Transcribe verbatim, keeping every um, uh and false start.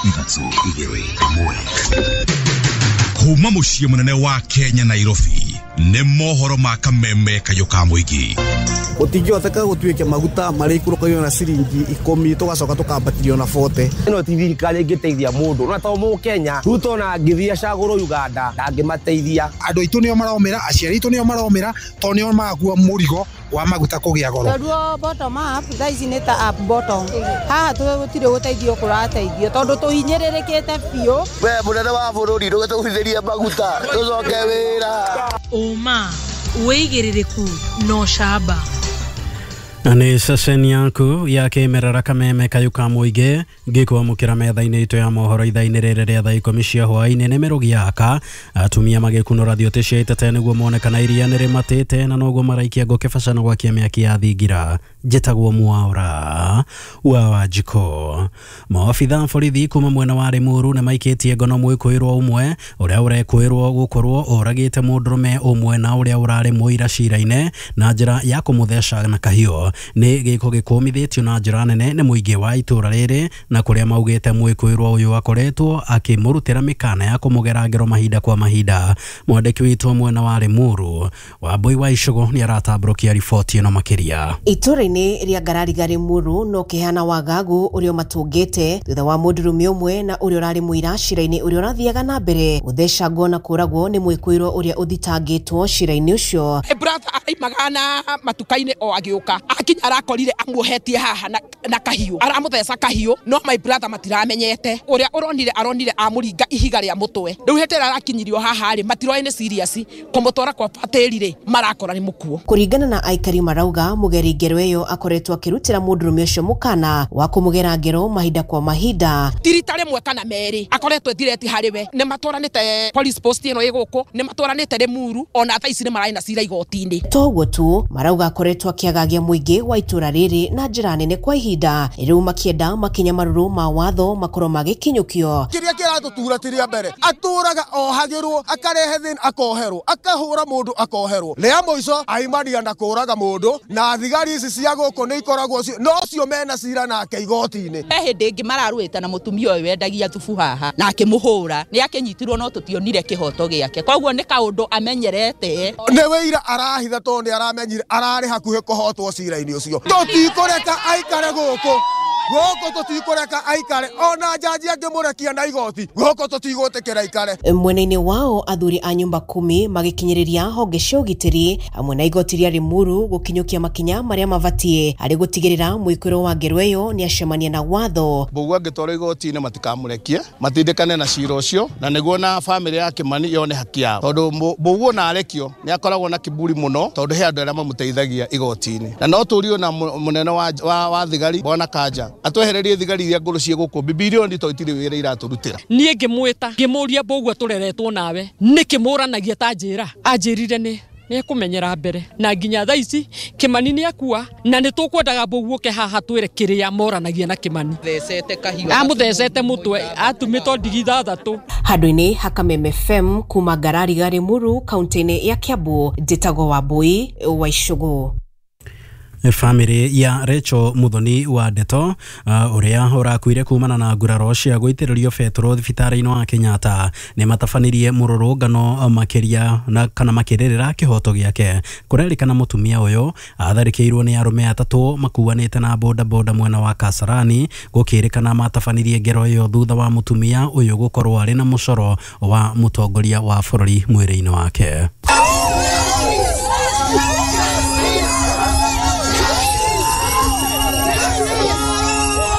Ithatũ, igĩrĩ, ĩmwe. Kuma mũciĩ mũnene wa Kenya, Nairobi, nĩ mohoro ma Kameme Kayũ ka Mũingĩ. Gũtingĩhoteka gũtuĩke maguta marĩikũrũkagio na ciringi ikũmi, tũgacoka tũkambatĩrio na bote. Ĩno ti thirikari ĩngĩteithia mũndũ, no to Mũkenya. Ruto na angĩthiĩ acagũrwo Uganda, ndangĩmateithia. Andũ aitũ nĩo maromĩra, aciari aitũ nĩo maromĩra, tondũ nĩo marakua mũrigo wa maguta kũgĩa goro. Tondũ bottom up thaa ici nĩ ta up bottom, haha gũtirĩ gũteithio kũrateithio tondũ tũhinyĩrĩrĩkĩte biũ. We mũnene wa bũrũri, ndũgĩtũgũithĩrie maguta tũcoke wĩra. Ũma, wĩigĩrĩrĩku na ũcamba. Nĩ ceceni yaku ya kĩmerera Kameme Kayũ ka Mũingĩ, ngĩkwamũkĩra metha-inĩ itũ ya mohoro ithaa-inĩ rĩrĩ rĩa thaa ikũmi cia hwaĩ-inĩ. Nĩ mĩrũgi yaka atumia magĩkunũra thiotĩ cia itete nĩguo mone kana iria nĩ rĩmatĩte, na noguo maraikia ngũ kĩbaca na gwakia mĩaki ya thingira. Njĩtagwo Mwaura wa Wanjikũ. Maobitha borithi kuma mwena wa Limuru nĩ maikĩtie ngono mwĩkũĩrwo ũmwe ũrĩa ũrekũĩrwo gũkorwo oragĩte mũndũrũme ũmwe na ũrĩa ũrarĩ mũira cira-inĩ na njĩra ya kũmũtheca na kahiũ. Nĩ gĩko gĩkũmithĩtio na njĩra nene nĩ mũingĩ wa itũra rĩrĩ, na kũrĩa maugĩte mwĩkũĩrwo ũyũ akoretwo akĩmũrutĩra mĩkana ya kũmũgera ngero mahinda kwa mahinda. Mwandĩki witũ mwena wa Limuru, Wambui wa Icũgũ, nĩ aratambũrũkia riboti ĩno makĩria. Itũra-inĩ rĩa Ngarariga Limuru no kĩhana wagagu ũrĩa matũngĩte thutha wa mũndũrũme ũmwe na ũrĩa ũrarĩ mũira cira-inĩ ũrĩa ũrathiaga na mbere gũthecangwo na kũragwo nĩ mwĩkũĩrwo ũrĩa ũthitangĩtwo cira-inĩ ũcio. Brother araimaga na matuka-inĩ o agĩũka akinya arakorire amuohetie haha na, na kahiũ, aramũtheca kahiũ, no my brother matiramenyete ũrĩa ũronire, aronire amũringa ihiga rĩa mũtwe. Rĩu hĩndĩ ĩrĩa arakinyirio haha rĩ, matiroĩ nĩ serious kũmũtwara kwa batĩri rĩ, marakora nĩ mũkuo. Kũringana na aikari marauga mũgeri ngero ĩyo akoretwo akĩrutĩra mũndũrũme ũcio mũkana wa kũmũgera ngero mahinda kwa mahinda. Ti rita rĩmwe kana merĩ akoretwo ethireti harĩ we, nĩ matwaranĩte police post ĩno ĩ gũkũ, nĩ matwaranĩte Limuru, ona thaa ici nĩ mararĩ na cira igoti-inĩ. Toguo tu, marauga akoretwo akĩagagia mũingĩ wa itũra rĩrĩ na njĩra nene kwa ihinda, rĩu makĩenda makinya marũrũ ma watho makorwo magĩkinyũkio. Kĩrĩa kĩratũtura ti rĩa mbere, atũraga ohagĩrwo, akarehe thĩna akoherwo, akahũra mũndũ akoherwo, rĩa mũico aimania na kũraga mũndũ, na thigari ici cia gũkũ nĩ ikoragwo no cio mena cira nake igoti-inĩ. He hĩndĩ ĩngĩ mararũĩte na mũtumia ũyũ wendagia thubu haha na akĩmũhũra, nĩ akĩnyitirwo no tũtionire kĩhoto gĩake, koguo nĩ kaũndũ amenyerete. Nĩ wĩira arahitha tondũ nĩ aramenyire ararĩ hakuhĩ kũhotwo cira-inĩ ũcio. Tũtikũreka aikare gũkũ, gũkũ tũtikũreka aikare, ona njanji angĩmũrekia na igoti, gũkũ tũtigũtĩkĩra aikare. Mwena-inĩ wao athuri a nyũmba kumi magĩkinyĩrĩria honge cia ũgitĩri hamwe na igoti rĩa Limuru gũkinyũkia makinya marĩa mabatiĩ harĩ gũtigĩrĩra mwĩkũĩrwo wa ngero ĩyo nĩ acemania na watho. Mbũgua angĩtwarwo igoti-inĩ matikamũrekie, matindĩkane na cira ũcio, na nĩguo na famĩlĩ ya Kĩmani yone haki yao, tondũ Mbũgua ona arekio nĩ akoragwo na kiburi mũno, tondũ he andũ arĩa mamũteithagia igoti-inĩ. Na no tũrio na mũnene wa, wa, wa thigari Bwana Kanja atwehererie thigari iria ngũrũ ciĩ gũkũ bibirioni to itirĩ wĩra iratũrutĩra. Niĩ ngĩmwĩta ngĩmũria, Mbũgua tũreretwo nawe nĩkĩ mũranagia ta njĩra? Anjĩrire nĩ nĩekũmenyera mbere, na nginya thaa ici Kĩmani nĩ akua, na nĩ tũkwendaga Mbũgua ũke haha twĩre kĩrĩa moranagia na Kĩmani. Amũthecete mũtwe, atumĩtwo ndigi ithathatũ. Handũ-inĩ ha Kameme F M kuma Ngarariga Limuru kaunti-inĩ ya Kiambu, njĩtagwo Wambui wa Icũgũ. Famĩlĩ ya Rachel Muthoni wa Ndeto ũrĩa uh, ũrakuire kumana na nguraro cia gũitĩrĩrio betũrũ thibitarĩ-inĩ wa Kenyatta nĩ matabanirie mũrũrũngano makĩria na kana makĩrĩrĩra kĩhoto gĩake. Kũrerĩkana mũtumia ũyũ atharĩkĩirwo nĩ arũme atatũ makuanĩte na boda boda mwena wa Kasarani, gũkĩrĩkana matabanirie ngero ĩyo thutha wa mũtumia ũyũ gũkorwo arĩ na mũcoro wa mũtongoria wa bũrũri mwĩrĩ-inĩ wake.